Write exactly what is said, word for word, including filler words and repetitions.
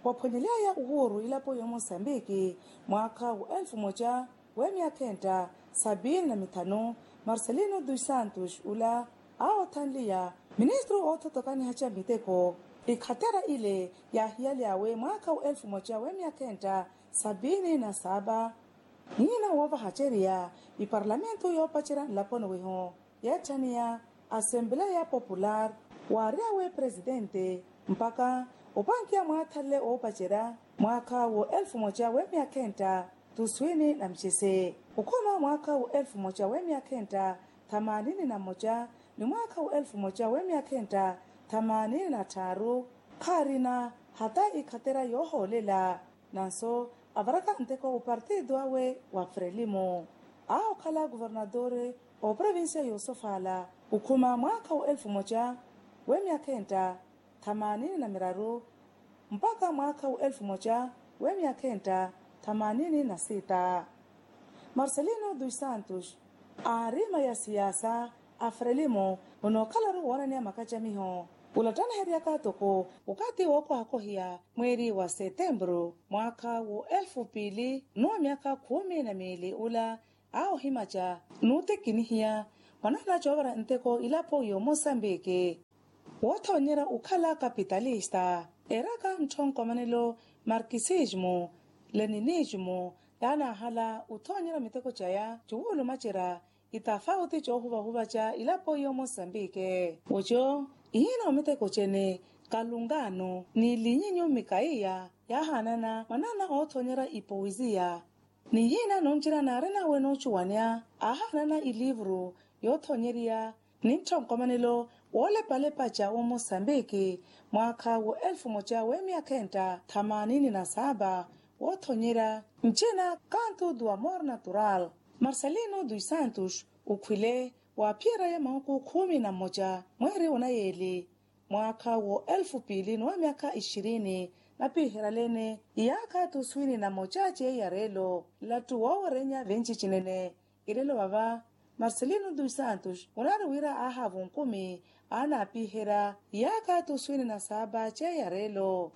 Waphwanyely'aya uhuru ilapo y'omosambiki mwaakha wa elfu moja w'emyakha entta sabiini na mithanu, marcelino dos santos ula aawothanliya ministru oothotokaniha ca miteko. Ikhatera ile yaahiyalyawe mwaakha wa elfu moja w'emyakha entta sabiini na saaba. Nyina woovaha ceriya iparlamentu yoopacerya nlaponi wihu yeetthaniya asembleya popular, waaryawe presidente mpakha opankiya mwaathanle oopacerya mwaakha wa elfu moja w'emyakha entta tuswini na micese. Okhuma mwaakha wa elfu moja w'emyakha entta thamanini na mmoja ni mwaakha wa elfu moja w'emyakha entta thamanini na tthaaru khaarina hata ikhatera yoohoolela. Nanso avaraka nteko opartido awe wa frelimo aahokhala kuvernatore oprovincia y'osofaala okhuma mwaakha wa elfu moja w'emyakha entta thamanini na miraru mpakha mwaakha wa elfu moja w'emyakha entta thamanini na sita. Marcelino dos santos aarima ya siyaasa a frelimo onookhalaru woonaniya makacamiho. Olattanaheryaka toko okathi wookohakohiya mweeri wa setemburu mwaakha wa elfu piili n'uwa myakha khumi na miili ula aawohimaca n'utekinihiya mwanana coovara nteko ilapo y'omosambiki. Woothonyerya okhala kapitalista eraka ntthonkomanelo markisismo leninismo yaanaahala othonyerya miteko caya cuwulumacerya itafauti coohuvahuvaca ilapo y'omosambiki. Oco ihina omiteko cene kalungano ni linyinyu mikaiya yaahaanana mwanana oothonyerya ipowiziya. Nihina noncira naarina we noocuwaneya aahaanana ilivuru yoothonyeriya ni ntthonkomanelo woolepalepaca w'omosambiki mwaakha wa elfu moja w'emyakha entta thamanini na saaba woothonyerya ncina kantu do amor natural. Marcelino dos santos okhwile waaphiyeraya mahuku khumi na mmoja mweeri onayeeli mwaakha wa elfu piili n'uwa myakha ixirini napiherya leene iyaakha tuswini na mocaci eyareelo. Lattu woowerenya venci cinene. Ilelo vava marcelino dos santos onaari wira aahaava onkumi aanaapiherya iyaakha tuswini na saaba ceyareelo.